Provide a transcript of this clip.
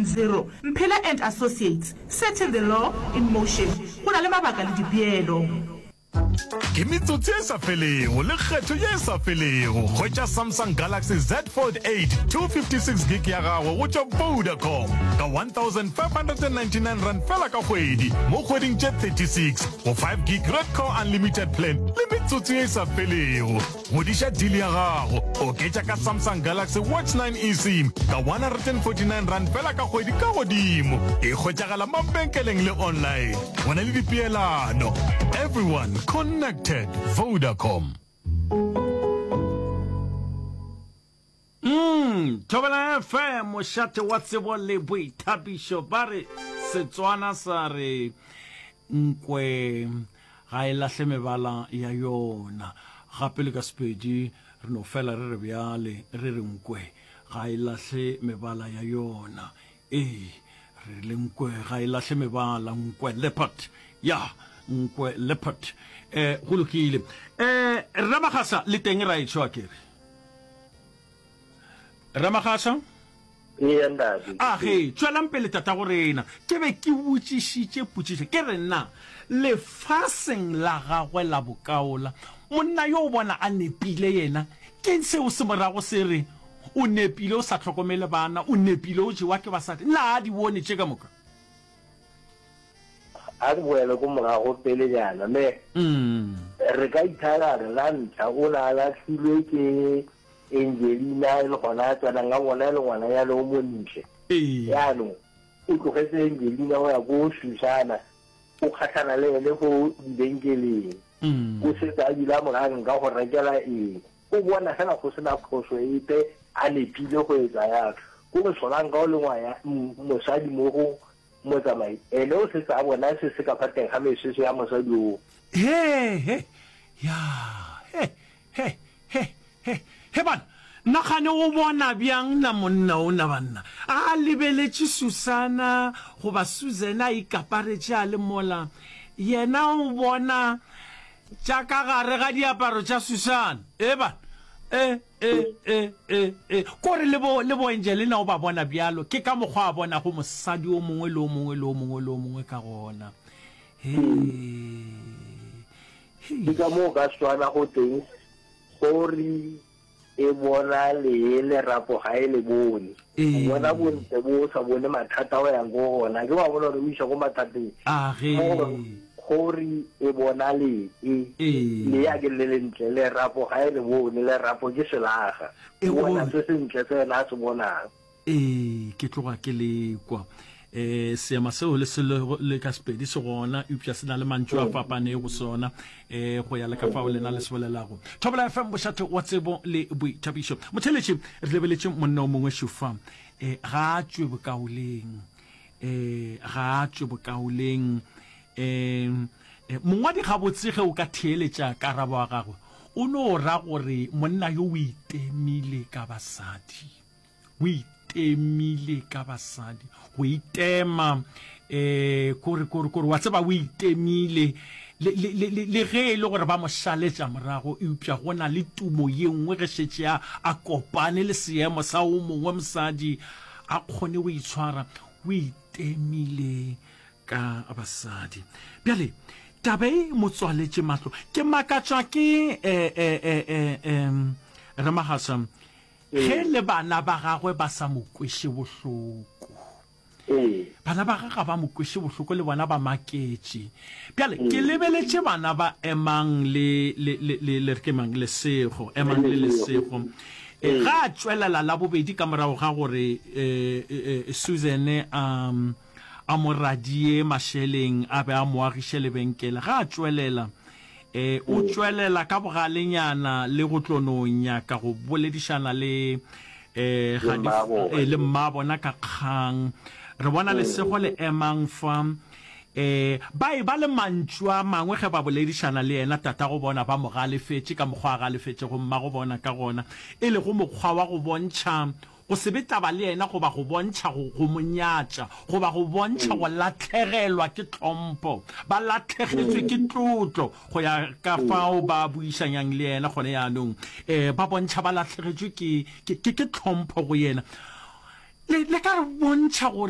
90. Mphela and Associates, setting the law in motion. Go na le mabaka le dipeelo. Ke metsotso e sa felego le kgetho ye e sa felego. Hwetša Samsung Galaxy Z Fold 8 256 gig ya gago go tšwa Vodacom ka R1599 fela ka kgwedi mo kgweding tše 36 go 5 gig Red Core Unlimited Plan le metsotso ye e sa felego. Godiša deal ya gago, oketša ka Samsung Galaxy Watch 9 eSIM ka R149 fela ka kgwedi ka godimo. E hwetšagala mabenkeleng le online. Go na le dipeelano. Everyone connected. Vodacom. Umm Thobela FM mošate wa tsebo le boithabišo ba re Setswana sa re nkwe ga e lahle mebala ya yona gape le ka Sepedi re no fela re re bjale re re nkwe ga e lahle mebala ya yona ee re le nkwe ga e lahle mebala nkwe leopard ya nkwe leopard eh go lokile eh Ramagasa le teng ra etsho akere Ramagasa? Ee, ntate. A ge, tšwelang pele tatago rena. Ke be ke botšišitše potšišo, ke re, Na lefaseng la gagwe la bokaola, monna yo o bona a nepile yena? Ke'ng seo se morago se re, O nepile o sa hlokomele bana, o nepile o jewa ke basadi? Na a di bone tše ka moka? A re boele ko morago pelenyana, me re ka ithaya re la ntlha o ne a lahlilwe ke Angelina e le gona a tsenang a bona e le ngwananyana o montle. Jaanong o tlogetse Angelina o ya ko Susana, o kgatlhana le ene ko dibenkeleng. O setse a bile a mo raya nka go rekela eng. O bona fela go sena phoso epe a nepile go etsa yalo. Ko re Solanka o le ngwaya mosadi mo go Motsamai ene o setse a bona se se ka fa teng ga mesese ya mosadi oo. He, he, ya, he, he, he, he, he, banna, nna kgane o bona bjang na monna o na banna, a lebeletše Susana goba Susan a ikaparetše a le mola, yena o bona tša ka gare ga diaparo tša Susan, e banna, e, E, e, e, e. Kore le bo, le bo Angelina o ba bona bjalo, ke ka mokgwa a bonago mosadi o mongwe le o mongwe le o mongwe le o mongwe ka gona. He, he. Ke ka moo ka Setswana go teng, Kgori e bona lee lerapo ga e le bone. O bona bontle bo o sa bone mathata o yang ko go ona. Ke wa bona gore o iša ko mathateng. A ge. Kgori e bona lee, lee a ke le lentle, lerapo ga e le bone, lerapo ke selaga. O bona se sentle se yena a se bonang. Ee, ke tloga ke le kwa. E, seema seo le se le ka Sepedi se gona, eupša se na le mantšu a fapanego go sona, e, go ya le ka fao lena le se bolelago. Thobela FM, bošate wa tsebo le boithabišo. Motheeletši, re lebeletše monna o mongwe šufa, e, ga a tšwe bokaoleng. E, ga a tšwe bokaoleng. E, e, mongwadi gabotse ge o ka theeletša karabo ya gagwe, o no ra gore monna yo o itemile ka basadi. O itemile ka basadi. Go itema, e, kore, kore, kore, wa tseba o itemile, le, le, le, le, le ge e le gore ba mo šaletša morago, eupša go na le tumo ye nngwe ge šetše a, a kopane le seemo sa o mongwe mosadi, a kgone go itshwara, o itemile ka basadi. Bjale, taba e mo tswaletše mahlo. Ke makatšwa ke, eh, eh, eh, eh, eh, Ramagasa, ge le bana ba gagwe ba sa mo kweše bohloko. Bana ba gagwe ga ba mo kweše bohloko, le bona ba maketše. Bjale, ke lebeletše bana ba Emang le, le, le, le, le re ke mang, Lesego, Emang le Lesego. E, ga a tšwelela la bobedi ka morago ga gore e, e, e, Susan a, a mo radie mašeleng a be a mo agiše lebenkele, ga a tšwelela, e, o tšwelela ka bogalenyana le go tlo no nyaka go boledišana le, e, ga di, e, le mmabona ka kgang. Re bona Lesego le Emang fa. E, ba e ba le mantšu a mangwe ge ba boledišana le yena, tatago bona ba mo galefetše ka mokgwa a galefetšego mmago bona ka gona, e lego mokgwa wa go bontšha go se be taba le yena goba go bontšha go, go mo nyatša goba go bontšha go lahlegelwa ke tlhompho. Ba lahlegetšwe ke tlotlo go ya ka fao ba buišanyang le yena gone jaanong. E, ba bontšha ba lahlegetšwe ke, ke, ke, ke tlhompho go yena. Le, le ka re bontšha gore.